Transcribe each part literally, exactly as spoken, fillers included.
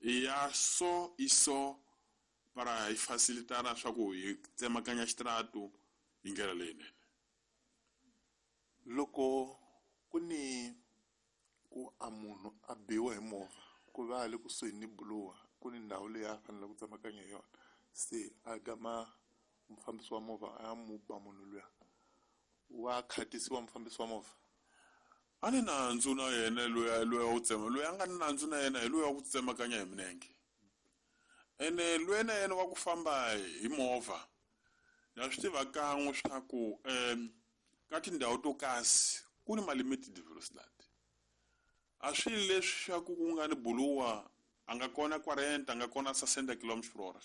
I ya so i so para hi facilitara swa ku hi tsemakanya xitaratu hi ndlela leyinene. Loko ku ni ku a munhu a biwa hi movha ku va le kusuhi ni buluwa ku ni ndhawu leyi a fanele ku tsemakanya hi yona, se a gama mufambisi wa movha a ya mu ba munhu luya, wa khatisiwa mufambisi wa movha? A ni nandzu na yena loyi loyi wa ku tsema, loyi a nga ni nandzu na yena hi loyi wa ku tsemakanya hi milenge. Ene loyi na yena wa ku famba hi movha na swi tiva kan'we swa ku um ka tindhawu to kasi ku ni ma-limited velocity. A swi leswi swa ku ku nga ni buluwa a nga kona quarenta, a nga kona sessenta kilometers per hour.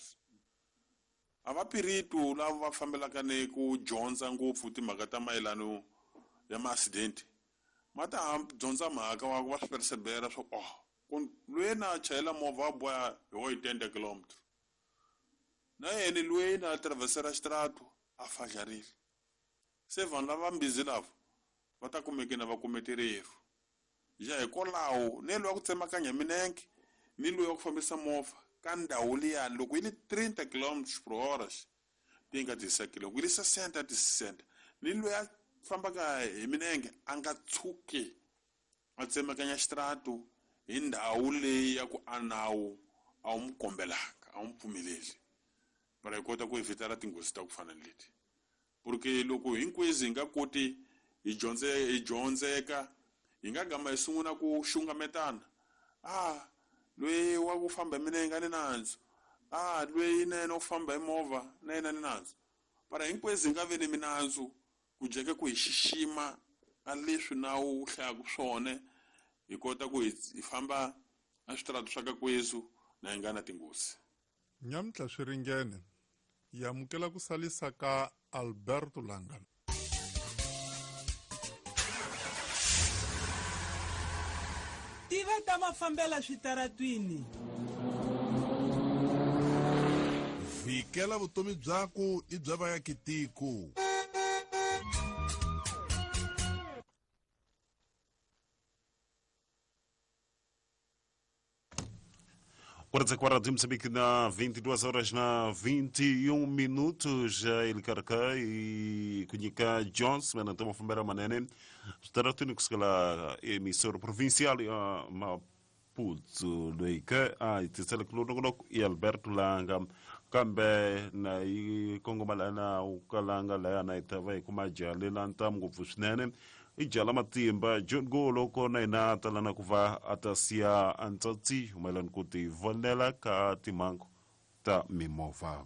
A va piritu lava va fambelaka ni ku dyondza ngopfu timhaka ta mayelano ya ma-accident ma ta dyondza mhaka wa ku va swi persevera swa ku oh ku loyi na chayela movha wa boha hi oitenta kilometers, na yena loyi na traversera xitaratu a fadlarile. Se vanhu lava mbizi lava va ta kumeke na va kume tirheru. Ja hikwalaho ni loyi wa ku tsemakanya milenge ni loyi wa ku fambisa movha ka ndhawu liyani loko yi li trinta kilometers per hora ti nga tisekile, loko yi li sessenta ti sessenta, ni loyi a fambaka hi milenge a nga tshuki a tsemakanya xitaratu hi ndhawu leyi ya ku a nawu a wu n'wi kombelaka, a wu n'wi pfumeleli, para hi kota ku evitara tinghozi ta ku fana ni leti. Porque loko hinkwezi hi nga koti hi dyondze hi dyondzeka hi nga gama hi sungula ku xungametana, ah loyi wa ku famba hi milenge a ni nandzu, ah loyi na yena u famba hi movha na yena ni nandzu, para hinkwezi hi nga vi ni minandzu ku jeke ku hi xixima a leswi nawu wu hlayaka swona, hi kota ku hi famba a switaratu swa ka kwezu na hi nga na tinghozi. Nyamuntlha swi ringene hi amukela ku salisa ka Alberto Langa. Tiva ta mafambela switaratwini. Vikela vutomi byaku i bya vaakatiko. Quarenta de Moçambique na vinte e duas horas na vinte e um minutos, ele carca e Kunhika Jones, mas não estamos a manene, estará tudo que se cala emissora provincial a Maputo, Leika, a Tisela Klunono e Alberto Langa, kambe na i kongomalana ukalanga la na itava kumajale lantam ngopfu swinene i jala matimba John Golo kona ina talana kuva atasia antsatsi mayelana ku ti vonela ka timhangu ta mimovha.